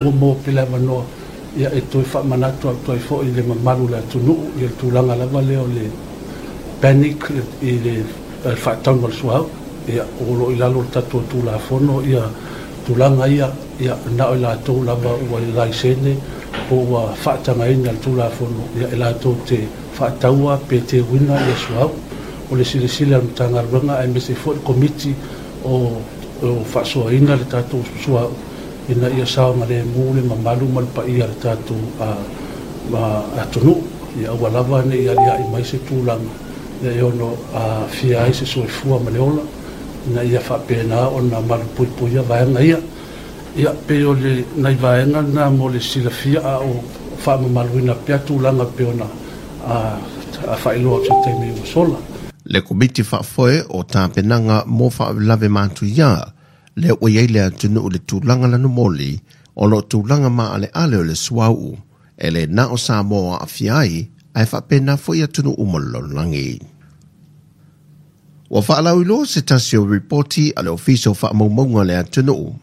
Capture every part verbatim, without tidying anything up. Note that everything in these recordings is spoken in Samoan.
Ua maua pea le avanoa ia e toe faamanatu atu ai foi i le mamalu o le atunuu i le tulaga lava lea o le panic i le faatauga o le suauu. Ia o lo o i lalo o le tatou Tulafono ia tulaga ia, ia na o i latou lava ua laisene po ua faatagaina le Tulafono ia e latou te faataua pe teuina ia suauu. O le silasila a le Matagaluega aemaise foi le Komiti o o faasoaina le tatou suauu ina ia saogalemu le mamalu ma le paia o le tatou atunuu. Ia aua lava ne i aliae mai se tulaga ia e ono aafia ai se soifua ma le ola ina ia faapena ona malupuipuia vaega ia. Ia pei o le nai vaega na mo le silafia a o faamamaluina pea tulaga pei ona faailoa atu i se taimi ua sola. Le Komiti Faafoe o Tapenaga mo Faalavelave Matuia, lea ua i ai le atunuu i le tulaga lanumoli o lo o tulaga maaleale o le suauu, e le na o Samoa aafia ai, ae faapena foi atunuu uma o le lalolagi. Ua faalauiloa se tasi o ripoti a le Ofisa o Faamaumauga a le Atunuu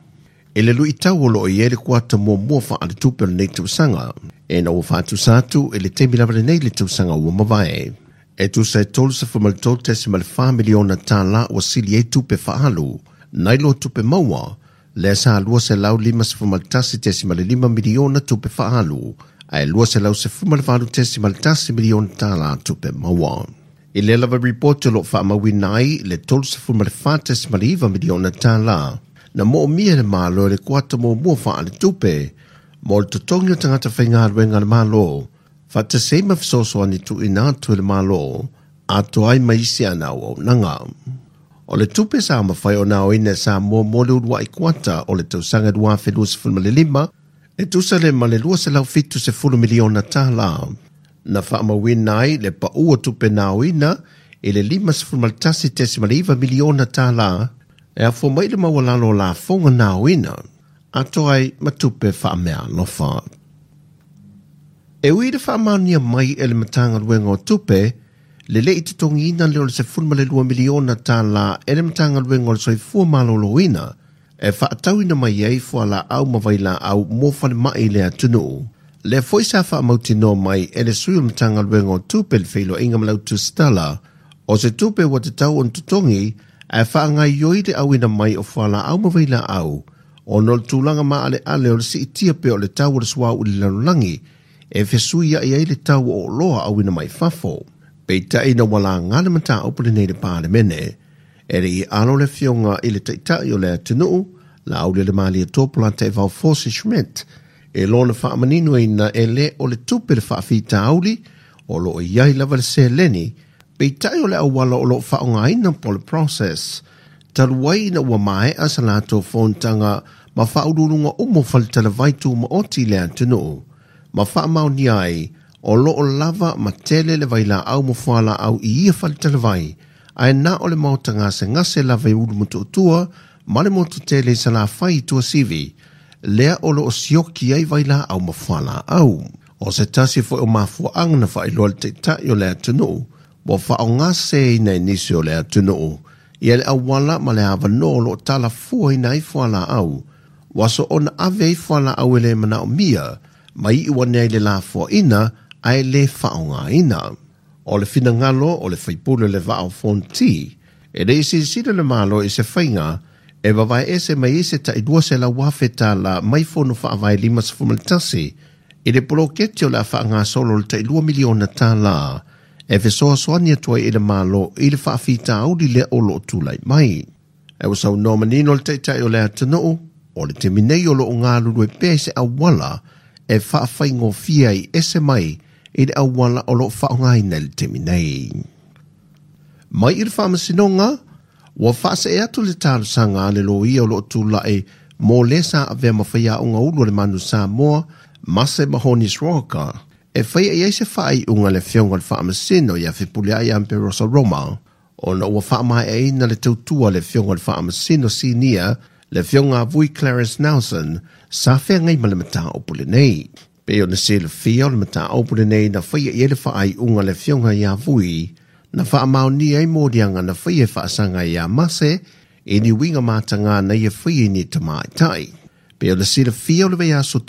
i le luitau o lo o i ai le kuata muamua faaletupe o lenei tausaga, ina ua faatusa atu i le taimi lava lenei le tausaga ua mavae. E tusa e tolusefulu ma le tolu tesima le fa miliona tālā ua sili ai tupe faaalu nai lo tupe maua, lea sa lua selau limasefulu ma le tasi tesima le lima miliona tupe faaalu, ae lua selau sefulu ma le valu tesima le tasi miliona tālā tupe maua. I lea lava ripoti o lo o faamauina ai le tolusefulu ma le fa tesima le iva miliona tālā na moomia e le Malo i le kuata muamua faaletupe mo le totogi o tagata faigaluega a le Malo, faatasi ai ma fesoasoani tuuina atu e le Malo atoa ai ma isi ana auaunaga. O le tupe sa mafai ona aoina e Samoa mo le uluai kuata o le tausaga lua afe luasefulu ma le lima, e tusa le ma le lua selau fitu sefulu miliona tālā. Na faamauina ai le paua tupe na aoina i le limasefulu ma le tasi tesima le iva miliona tālā e afua mai le maualalo o lafoga na aoina, atoa ai ma tupe faameaalofa. E ui i le faamaonia mai e le Matagaluega o Tupe, le le i totogiina lea o le sefulu ma le lua miliona tālā e le Matagaluega o le Soifua Maloloina e faatauina mai ai fualaau ma vailaau mo falemai i le atunuu. Lea foi sa faamautinoa mai e le sui o le Matagaluega o Tupe le feiloaiga ma le autusitala o se tupe ua tatau ona totogi ae faagaoioi le auina mai o fualaau ma vailaau ona o le tulaga maaleale o le siitia pea o le tau o le suauu i le lalolagi e fesuiai ai le tau o oloa auina mai fafo. Peitai ina ua laga le mataupu lenei i le Palemene, e le i alo le afioga i le Taitai o le atunuu, Laaulialemalietoa Polataivao Fosi Schmidt, e lona faamaninoina e le o le tupe le faafitauli o lo o i ai lava le seleni, peitai o le auala o lo o faaaogaina po o le process, talu ai ina ua maea sa latou fonotaga ma faauluuluga uma o faletalavai tumaoti i le atunuu, ma faamaonia ai o lo o lava ma tele le vailaau ma fualaau i ia faletalavai, ae na o le maota gasegase lava i Ulumotootua ma le motu tele i Salafai i Tuasivi, lea o lo o sioki ai vailaau ma fualaau. O se tasi foi o mafuaaga na faailoa le Taitai o le atunuu ua faaaogaseseina e nisi o le atunuu ia le auala ma le avanoa o lo o talafuaina ai fualaau, ua soona ave ai fualaau e le manaomia ma iu ane ai le lafoaina ae le faaaogaina. O le finagalo o le faipule o le Vaa o Fonoti, e le i silasila le Malo i se faiga e vavaeese mai ai se tai lua selau afe tālā mai fono faavae limasefulu ma le tasi i le poloketi o le a faagasolo o le tai lua miliona tālā e fesoasoani atu ai i le Malo i le faafitauli lea o lo o tulai mai. E ua saunoa manino le Taitai o le atunuu, o le taimi nei o lo o galulue pea i se auala e faafaigofie ai ese mai i le auala o lo o faaaogaina i le taimi nei. Mai i le faamasinoga, ua faasee atu le talosaga a le loia o lo o tulai mo le sa avea ma faiaoga ulu a le Manu Samoa, Mase Mahoni Sroka, e faia i ai se faaiuga a le afioga i le Faamasino ia Fepuleai Amperosa Roma, ona ua faamaeaina le tautua a le afioga i le Faamasino Sinia, le afioga a Vui Clarence Nelson, sa feagai ma le mataupu lenei. Pei ona silafia o le mataupu lenei na faia i ai le faaiuga a le afioga ia Vui, na faamaonia ai moliaga na faia e faasaga ia Mase i ni uiga mataga na ia faia i ni tamaitai. Pe o le silafia o le vaiaso.